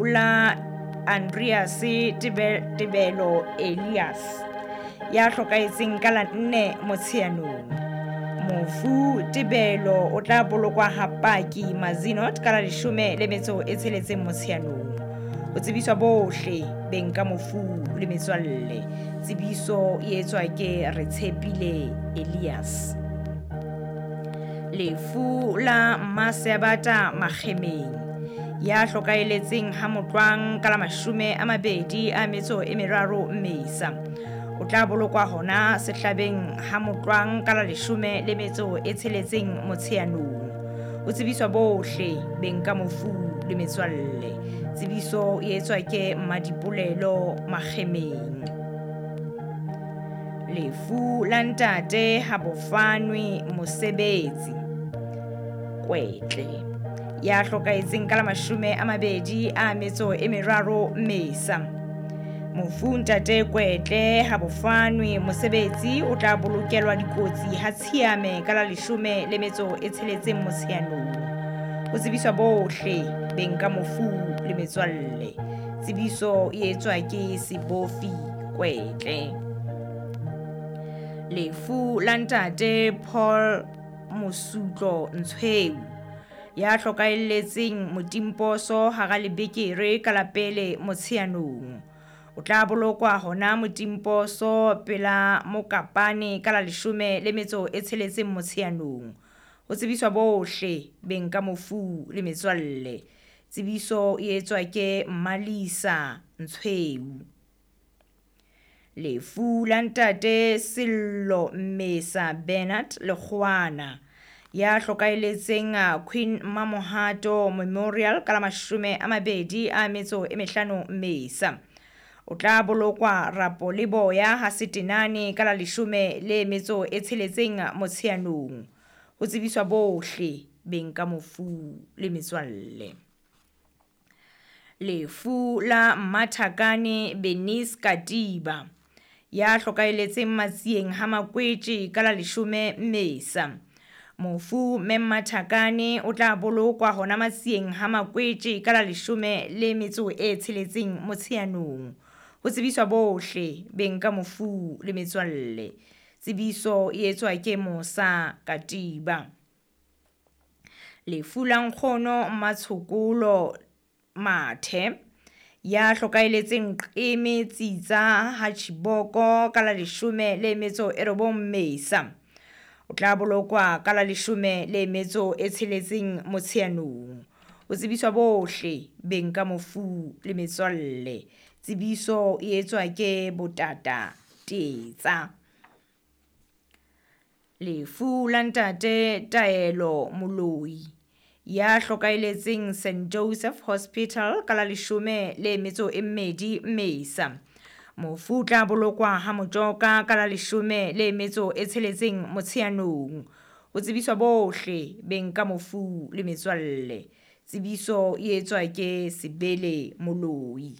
la Andreas Tebelo Elias ya hlokahetseng ka la 4 Motsheanong. Mofu Tebelo o tla bolokwa ha Paki Mazinot ka la 16 Motsheanong. Ho tsebiswa bohle beng ka mofu le metswalle. Tsebiso e etswa ke Retshepile Elias. Lefu la Mmasebata Makgemeng ya hlokaeletseng ha Motlwang ka la 23 Mmesa. O tla bolokwa hona sehlabeng ha Motlwang ka la 16 Motsheanong. Ho tsebiswa bohle beng ka mofu le metswalle. Tsebiso e etswa ke Mmadipolelo Makgemeng. Lefu la ntate ha bofanwe mosebetsi Kwetle ya hlokahetseng ka la 23 Mmesa. Mofu ntate Kwetle ha bofanwe mosebetsi o tla bolokelwa dikotsi ha Tshiame ka la 16 Motsheanong. Ho tsebiswa bohle beng ka mofu le metswalle. Tsebiso e etswa ke Sebofi Kwetle. Lefu la ntate Paul Mosutlo Ntshweu ya hlokaelletseng Motimposo hara lebekere ka la 1 Motsheanong. O tla bolokwa hona Motimposo pela Mokapane ka la 16 Motsheanong. Ho tsebiswa bohle beng ka mofu le metswalle. Tsebiso e etswa ke Mmalisa Ntshweu. Lefu la ntate Sello Mmesa Bernard Lekgowana ya hlokaeletseng Queen Mamohato Memorial ka la 25 Mmesa. O tla bolokwa Rapo le Boya ha Setenane ka la 16 Motsheanong. Ho tsebiswa bohle beng ka mofu le metswalle. Lefu la Mmathakane Benice Katiba ya hlokaeletseng Matsieng ha Makwetje ka la 10 Mmesa. Mofu Mmathakane o tla bolokwa hona Matsieng ha Makwetje ka la 16 Motsheanong. Ho tsebiswa bohle beng ka mofu le metswalle. Tsebiso e etswa ke Mosa Katiba. Lefu la nkgono Mmatshokolo Mathe ya hlokaeletseng Qeme Tsitsa ha Chiboko ka la 19 Mmesa. O tla bolokwa ka la 16 Motsheanong. Ho tsebiswa bohle beng ka mofu le metswalle. Tsebiso e etswa ke Botata Tetsa. Lefu la ntate Taelo Moloi ya hlokaeletseng St Joseph Hospital ka la 12 Mmesa. Mofu o tla bolokwa ha Motjoka ka la 16 Motsheanong. Ho tsebiswa bohle beng ka mofu le metswalle. Tsebiso e etswa ke Sebele Moloi.